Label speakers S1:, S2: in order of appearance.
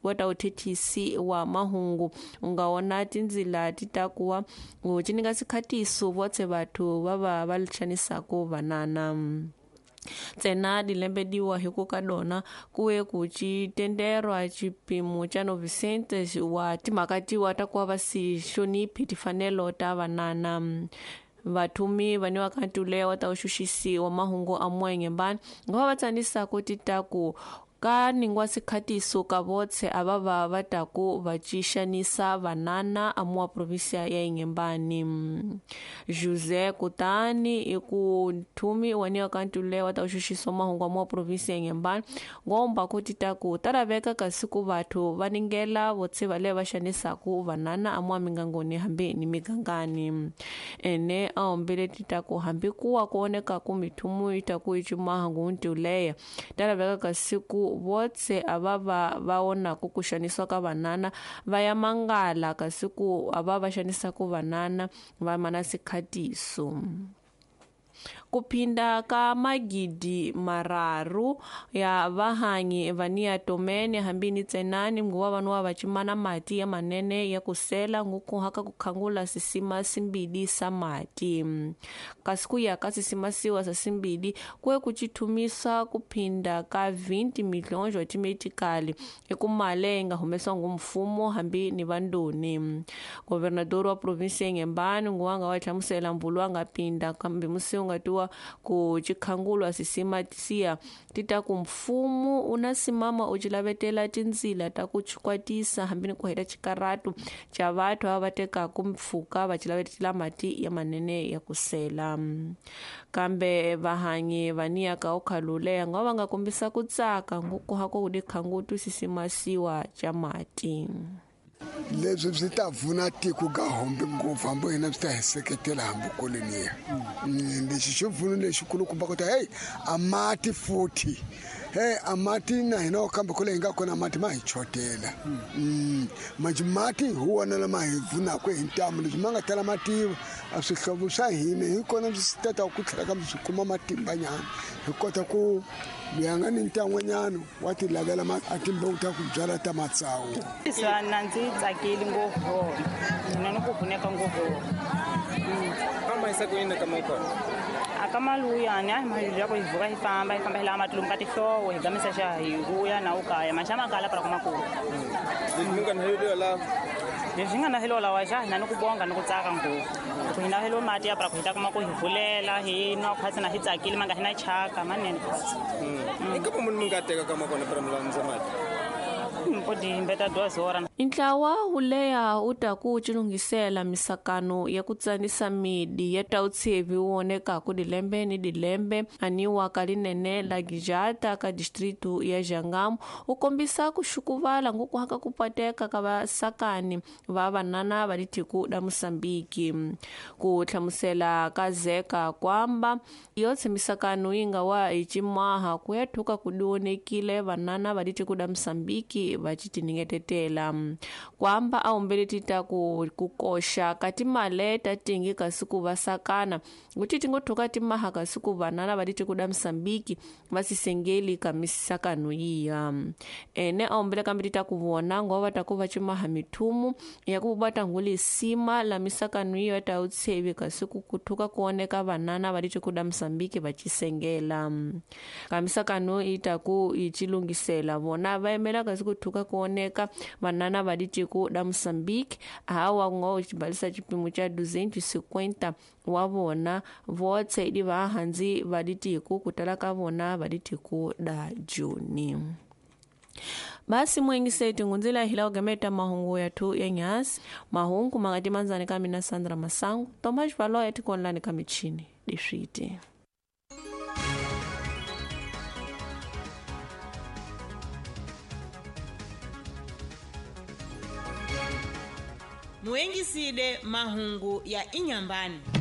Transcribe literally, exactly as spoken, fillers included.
S1: Wa ta uthethisi wa mahungu ungaona tindzila ti ta kuwa ucininga sikhatiso votse vathu va va va litshanisako vanana ntsena dilembediwa hi ku ka dona kuye ku citenderwa xipimo xa novecentos wa timhaka tiwa ta kuva va si hloniphi timfanelo ta vanana. Vathumi vaniwa ka ntulewa ta uxuxisiwa mahungu a mwenyembani ngova va tsanisako ti ta ku ka ningwa sikhatiso ka votse ava va va ta ku va cixanisa vanana amuwa provinsia ya Inhambane. José Kutani i ku nthumi waniwa ka ntulewa ta uxuxisa mahungu amuwa provinsia ya Inhambane ngomba ku ti ta ku ta laveka kasi ku vathu va ningela votse va le va xanisaku vanana amuwa mingangoni hambi ni migangani. Ene a hombele ti ta ku hambi kuwa ku oneka ku mithumu yi ta ku yi cumaha ntuleya ta laveka kasi ku votse ava va va onako ku xanisiwa ka vanana va ya mangala kasi ku ava va xanisaka vanana va mana sikhatiso. Ku phinda ka magidi mararu ya vahanyi vania tomene hambi ni tsenani nguva vanhu va cimana mati ya manene ya kusela ngukuhaka ku khangula sisima simbili sa mati kasi ku ya ka sisima siwa sa simbili kuye ku cithumisa ku phinda ka twenty milhões wa timetikali ekumale nga humesiwa ngumfumo hambi ni vandoni. Governador wa provinsia ya Inhambane nguva nga wa hlamusela mbulu a nga pinda kambe musi nga tiwa ku chikhangulwa sisima siya ti ta ku mfumo una simama u cilavetela tindzila ta ku chikwatisa hambi ni ku heta xikaratu xa vathu ava va tekaku mpfhuka va cilavetela mati ya manene ya kusela. Kambe vahanyi vania ka ukhaluleya nga va nga kombisa ku tsaka ngukuhako ku dikhangutu sisima siwa xa mati.
S2: Leswi swi ta pfuna tiko ka hombe ngopfu hambi hina swi ta hi seketela hambi koloniya. Lexi xi pfuno lexikulukumba ku ta hey a mati futhi hey a mati na hina kambe kule hi nga kona mati ma hi chotela. Manje mati hi wona lama hi pfunaka hi ntamu leswi ma nga tala mativa a swihlovo swa hina hi kona swi ta ta ku tlhela kambe swi kuma matimbanyana hi kota ku loyi a nga ni ntan'wanyana wa ti lavela a timbewu ta ku byala ta matsawu.
S3: Sana ndzi tsakile ngopfu mina ni ku pfuneka ngopfu.
S4: Kama isakuyini kama kona
S3: akamaluyani a hi mali ya ku hi vuka hi famba hi famba hi lava mati lomu ka tihlovo hi gamisa xa hi vuya na ukaya maxa makala para kumakulu.
S4: Leswi nga na helo la
S3: leswi nga na helo lawa xa hina ni ku bonga ni ku tsaka ngopfu ku hina helo mati ya para ku hi ta kuma ku hi vulela hi nwa khwatsi na hi tsakile ma nga hi na chaka manene khwatsi.
S4: I ka munhu mi nga teka kama kona para mulandza mati.
S1: Ntlawa wuleya wu ta ku cilunghisela misakano ya ku tsanisa midi ya ta utshevi wu onekaku dilembe ni dilembe aniwa ka linene la Gijata ka distritu ya Jangamo wu kombisa ku xukuvala ngukuhaka ku pateka ka vasakani va vanana va litiko da Mosambiki. Ku hlamusela ka Zeka kwamba yotse misakano yi nga wa hi cimaha ku ya thuka ku dionekile vanana va litiko da Mosambiki va citiningetetela kwamba a humbele ti ta ku ku koxa ka timale ta tingi kasi ku va sakana kuti ti ngo thuka timaha kasi ku vanana va litiko da Mosambiki va sisengeli ka misakano yiya. Ene a humbele kambe ti ta ku vona ngo va ta ku va cimaha mithumu ya ku va ta nguli sima la misakano yiya ta utshevi kasi ku ku thuka ku oneka vanana va litiko da Mosambiki va cisengela ka misakano yi ta ku yi cilunghisela vona va yimela kasi ku thuka ku oneka vanana va litiko da Mosambiki hawa ngo xibalisa xipimo xa duzentos e cinquenta wa vona votse idi va handzi va litiko ku tala ka vona va litiko da Juni. Basi mwengiseti ngunzila hila ugameta mahungu ya tu ya nyasi mahungu makati manzani kamina Sandra Masangu Tomash Valo ya tikonlani kamichini dishiti.
S5: Muengiside mahungu ya Inhambane.